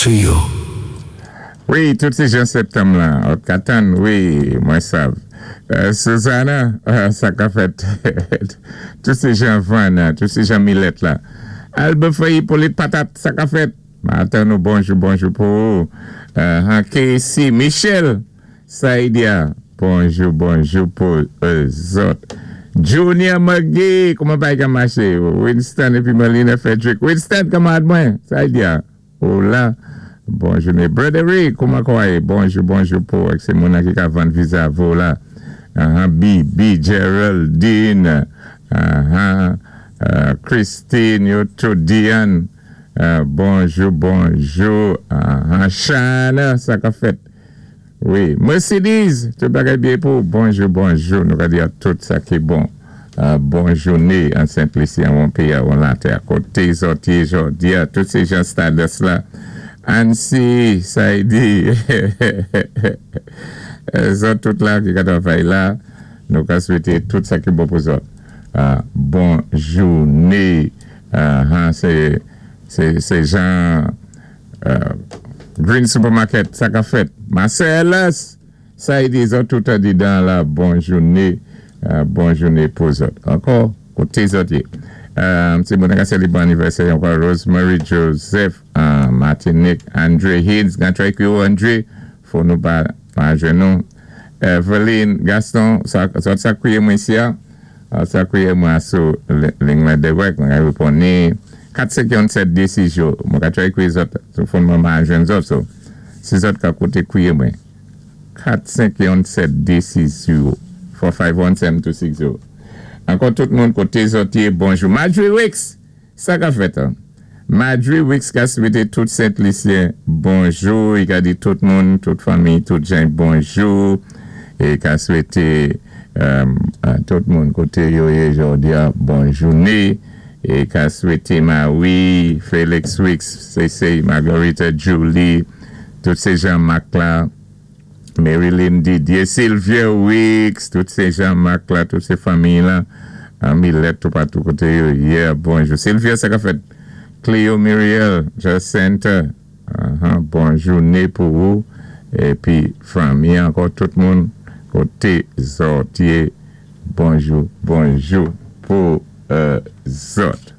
To you. Wi, tout sé jan septanm lan, òt ka tann, wi, mwen sav. Suzana, sa ka fèt? Tout sé jan Vann, tout sé jan Milèt la. Albert Hyppolite Patat, sa ka fèt? Ma atann ou, bonjou, bonjou pou ou. Casey Michel, Saidia, bonjou, bonjou pou zòt. Junior McGee, kouman bagay ka maché? Winston épi Melina Frederick. Winston, kanmarad mwen, Saidia. Ou la bon jouné brother Ray kouman kò a yé bonjou bonjou pou ak sé moun nan ki ka vann viza avè w la ahan B B Geraldine ahan Christine yo tout Diane bonjou bonjou ahan Shana sa kap fèt Wi Mercedes tout bagay byen pou ou bonjou bonjou nou ka di a tout sa ki bon bon joune an sent lisi an won peyi a won latè a kote zòt ye jòdia tout se jan stadès la Ancy Saidi zòt tout la ki ka travay la nou ka swete tout sa ki bon pou zòt bon joune se se jan. Green Supermarket sa kap fèt Marcellus sa e di zòt tout andidan la bon joune bon joune pou zòt ankò kote zòt ye ti moun ka selebre anivèsè yo ankò Rosemary Joseph Martinique Andre Hines gan tray kwi ou Andre fò nou pa pa jwenn nou Eveline Gaston zòt sa kriye mwen isi a. Sa kriye mwen a sou ling mwen dewèk mwen ka reponn ni 4 5 yon 7 2 6 yo mwen ka try kriye zòt sou fon mwen ma jwenn zòt so si zòt ka koute kriye mwen 4 5 yon 7 2 6 0 4 5 1 7 2 6 0 ankò tout moun kote zòt ye bonjou Marjorie Wicks! Sa ka fèt an. Madjri Wicks ka swete tout Sent Lisyen bonjou, i ka di tout moun, tout fanmi, tout jan bonjou, e ka swete tout moun kote yo ye jodi a bon joune, e ka swete Marie, Felix Wicks, Sesey, Margarita, Julie, tout se Jean Marc la. Maryline Didier, Sylvia Weeks, tout se Jean Marc la, tout se fanmiy lan, Millet toupatou kote yo ye, bonjou Sylvia sa kap fèt? Cleo Muriel, Jacinthe, bon joune pou ou epi fanmi ankò tout moun kote zòt ye bonjou bonjou pou zòt.